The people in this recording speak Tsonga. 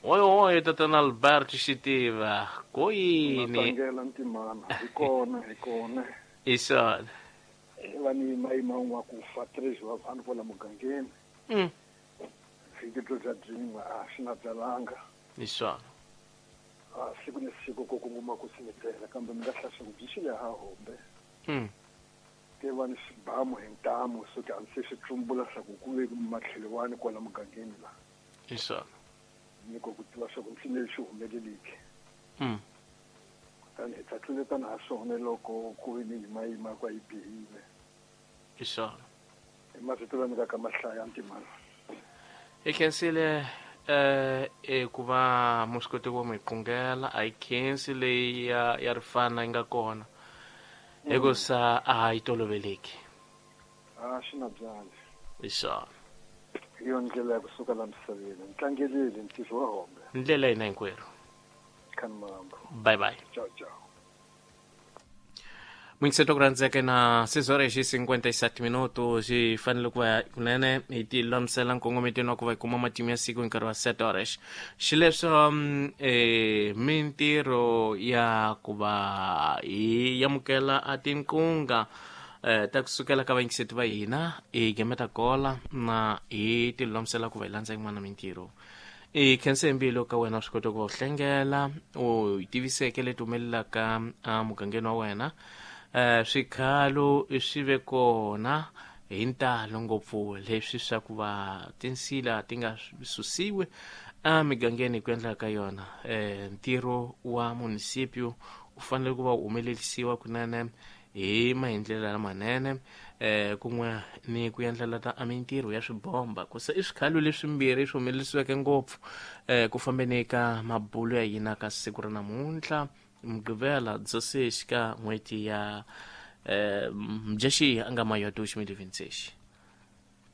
Oi oi tatana Alberto Xitiva ko yini tlangela ntimana hi kona hi kona hi swona va ni mayima un'wa ku fa 3 wa vanhu kwala mugangeni. Vhiki byo bya byin'we a swi na byalanga. Hi swona. A siku ni siku ko kunguma ku simitela kambe mi nga hlasa ku byi xile ha hombe. Ke va ni xibamu hi ntamu so ke a ndzi se swi tsumbula swa ku ku ve matlhelo wani kwala mugangeni la. Hi swona. Ni ko ku tiva swa ku ntsini lexi humeleliki. Kutani hi ta tluletana ha swona loko ku ve ni yimayima kwa yi bihile. Hi swona. Hi mavito lama nyikaka mahlaya ntimana. Hi khensile ku va mu swi kote ku va mu hi qungela a yi khensi leyi ya rifana yi nga kona hikusa a yi toloveleki. A swi na byali. Hi swona. Hi yona ndlela ya kusuka la misaveni. Ni tlangelile ntirho wa hombe. Ndlela hina hinkwerhu. Khani mambo. Bye bye. Ciao ciao. Mwingiseto ku rhandzeke na 6 horas e 57 minutos hi fanele ku va kunene hi ti lulamisela nkongometweni wa ku va hi kuma matimu ya siku hi nkarhi wa 7 horas xileswo mintirho ya ku va hi amukela a tinqunga ta kusukela ka vayingiseti va hina hi gemeta kola na hi ti lulamisela ku va hi landza yin'wana mintirho. I khense hi mbilu ka wena swi kota ku va u hlengela u tiviseke leti humelelaka emugangeni wa wena. Swikhalo swi ve kona hi ntalo ngopfu leswi swa ku va tinsila ti nga susiwi emigangeni hi ku endla ka yona. Ntirho wa munisipio u fanele ku va u humelerisiwa kunene hi maendlelo lamanene kun'we ni ku endlela ta mintirho ya swibomba ku se i swikhalo leswimbirhi swi humelerisiweke ngopfu ku fambeni ka mabulo ya hina ka siku ra namuntlha Mugqivela 16 ka n'hweti ya Mudyaxihi a nga mayo 2026.